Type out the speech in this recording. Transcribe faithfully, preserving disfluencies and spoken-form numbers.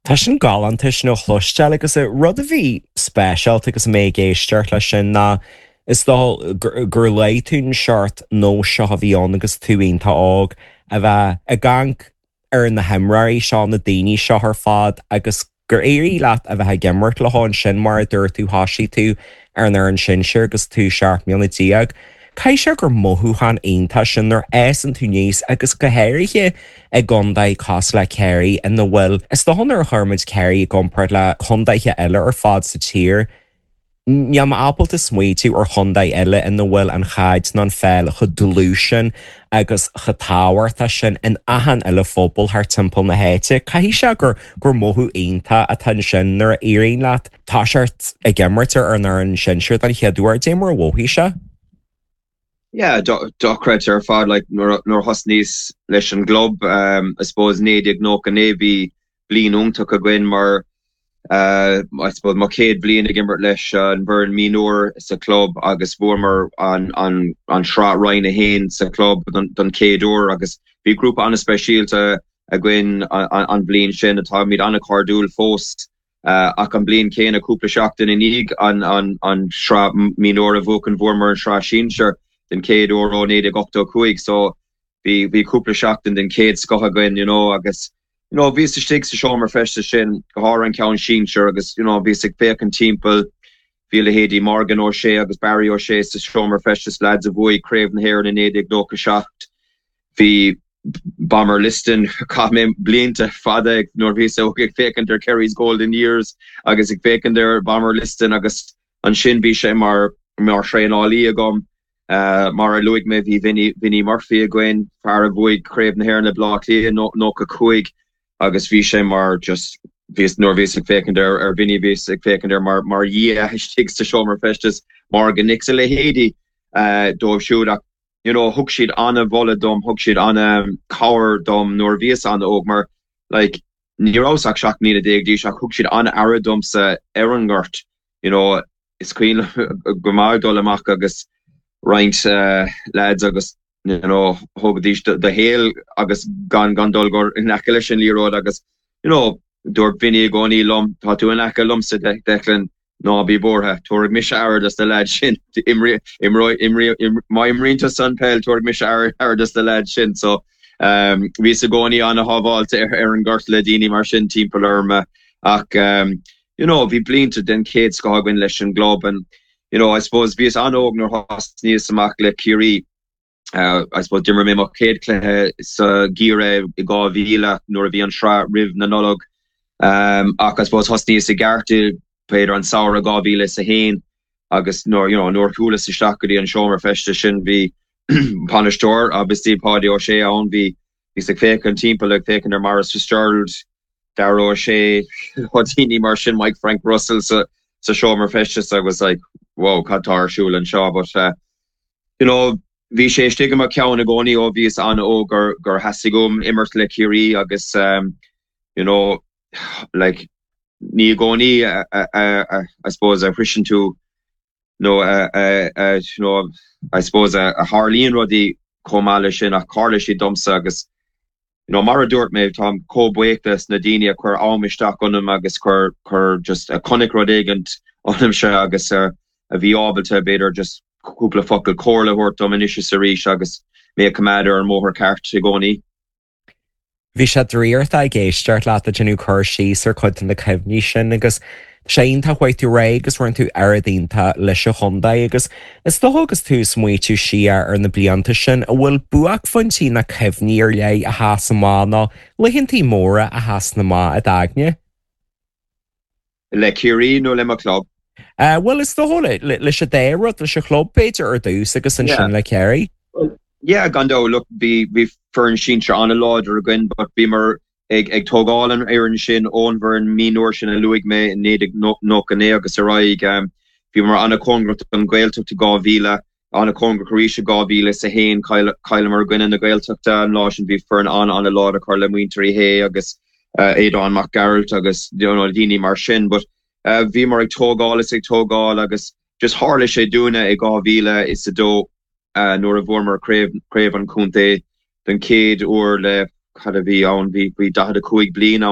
Tá sin galánta sin a chloisteáil agus rud a bhí speisialta agus mé ag éisteacht leis sin ná is dócha gur léigh tú an seort nós seo a bhí ann agus tú iontach óg a bheith ag amharc ar na himreoirí seo na daoine seo ar fad agus gur éirigh leat a bheith ag imirt leo ansin mar a dúirt tú thosaigh tú ar an fhoireann sinsir agus tú seacht mbliana déag. Caithfidh sé gur mothúchán iontach sin nuair a fhásann tú aníos agus go háirithe i gcontae cosúil le Ciarraí ina bhfuil is dócha nuair a chuirimid Ciarraí i gcomparáid le contaetha eile ar fad sa tír. Níl mé ábalta smaoitiú ar chontae eile ina bhfuil an chaid nó an pheil chomh dlúth sin agus chomh tábhachtach sin in achan uile phobal thar timpeall na háite. Caithfidh sé gur gur mothú iontach atá ansin nuair a éiríonn leat toiseacht ag imirt ar an fhoireann sinsir den chéad uair dé mar a mhothaigh sé. Yeah, dochreidte ar fad like nuair thosnaíos leis an gclub um, I suppose naoi déag nócha naoi bhí bliain iontach againn mar uh, I suppose mo chéad bhliain ag imirt leis an bhfoireann mionúr sa club agus bhuamar an, an, an sraith Roinn a haon sa club don, don chéad uair agus bhí grúpa an-speisialta againn an, an bhliain sin atáimid an-chairdiúil fós uh, ach an bliain céanna cúpla seachtain i ndiaidh an, an, an sraith mionúr a bhuachan bhuamar an sraith sinsir den chéad uair ó naoi déag ochtó cúig so bhí bhí cúpla seachtain den chéad scoth againn you know agus you know bhíos istigh sa seomra feistis sin go háirithe an ceann sinsir agus you know bhíos ag féachaint timpeall bhí leithéidí Morgan O'Shea agus Barry O'Shea sa seomra feistis lads a bhuaigh Craobh na hÉireann in naoi déag nócha seacht bhí Bomber Liston chaith mé blianta fada nuair bhíos óg ag féachaint ar Kerry's Golden Years agus ag féachaint ar Bomber Liston agus ansin bhí sé mar mar thraenálaí agam Uh, mar a luaigh mé bhí Vinny Vinny Murphy againn fear a bhuaigh Craobh na hÉireann le Bleá Cliath nócha cúig agus bhí sé mar just bhíos nuair bhíos ag féachaint ar ar Vinny bhíos ag féachaint ar mar mar dhia istigh sa seomra feistis Morgan Nix a leithéidí uh, dóibh siúd ach you know thug siad an-mholadh dom thug siad an-chabhair dom nuair bhíos an-óg mar like ní rabhas ach seacht mbliana déag d'aois ach thug siad an-aire domsa ar an ngort you know is cuimhin go maith dul amach agus roinnt uh, lads agus you know thógaidís do shaol agus gan gan dul gur in aice leis an liathróid agus you know dúirt Vinny i gcónaí liom tá tú in aice liomsa Declan ná bí buartha tabharfaidh mise aire dos na lads sin má imríonn tú an peil tabharfaidh mise aire dos na lads sin so um, bhíos i gcónaí an-shábháilte ar, ar an ngort le daoine mar sin timpeall orm ach um, you know bhí blianta den chéad scoth againn leis an gclub and you know I suppose bhíos an-óg nuair thosnaíos amach le Ciarraí uh, I suppose d'imir mé mo chéad chluiche sa gheimhreadh i dhá mhíle nuair a bhí an sraith roimh na Nollag um, ach I suppose thosnaíos i gceart b'fhéidir an samhradh dhá mhíle is a haon agus nuair you know, nuair chuas isteach go dtí an seomra feistis sin bhí bainisteoir agus bhí Páidí Ó Sé ann bhí bhíos ag féachaint timpeall ag féachaint ar Maurice Fitzgerald Darragh O'Shea daoine mar sin Mike Frank Russell sa sa seomra feistis agus like wow cad tá ar siúl anseo but uh, you know bhí sé istigh i mo cheann i gcónaí ó bhíos an-óg gur gur theastaigh uaim imirt le Ciarraí agus um, you know like ní i gcónaí I suppose a shroicheann tú nó you know I suppose a, a tharlaíonn rudaí chomh maith leis sin ach tharla sé domsa agus you know mar a dúirt mé táim chomh buíoch des na daoine a chuir am isteach ionam agus chuir chuir just a chonaic rud éigin ionamsa agus uh, a bhí ábalta b'fhéidir just cúpla focal comhairle a thabhairt dom anois is arís agus mé a choimeád ar an mbóthar ceart i gcónaí. Bhí sé draíochta ag éisteacht leat ag déanamh cur síos ar chuid de na cuimhní sin agus sé iontach chuaigh tú réidh agus rinne tú oiread iontach leis an chontae agus is dócha agus tú ag smaoitiú siar ar na blianta sin a bhfuil buaicphointí na cuimhní ar leith a sheas amach nó laethantaí móra a sheas amach i d'aigne. Le Ciarraí nó le mo club? Uh, well is dócha leis an dá rud leis an chlub b'fhéidir ar dtús agus ansin le Ciarraí. Yeah, gan dabht look bhí bhí foireann sinsir an-láidir againn, but bhíomar ag ag tógáil an fhoireann sin ón bhfoireann mionúr sin a luaigh mé in naoi déag nócha naoi agus ar aghaidh um, bhíomar an-chóngarach don Ghaeltacht i dhá mhíle an-chóngarach arís i dhá mhíle is a haon chailleamar i gcoinne na Gaeltachta an lá sin bhí foireann an an-láidir acu le muintir Uí Shé agus uh, Aodán Mac Gearailt agus you know, daoine mar sin, but uh, bhíomar ag tógáil is ag tógáil agus just tharla sé dúinne i dhá mhíle is a dó uh, nuair a bhuamar craobh craobh an chontae den chéad uair le cad a bhí ann bhí bhí daichead a cúig bliain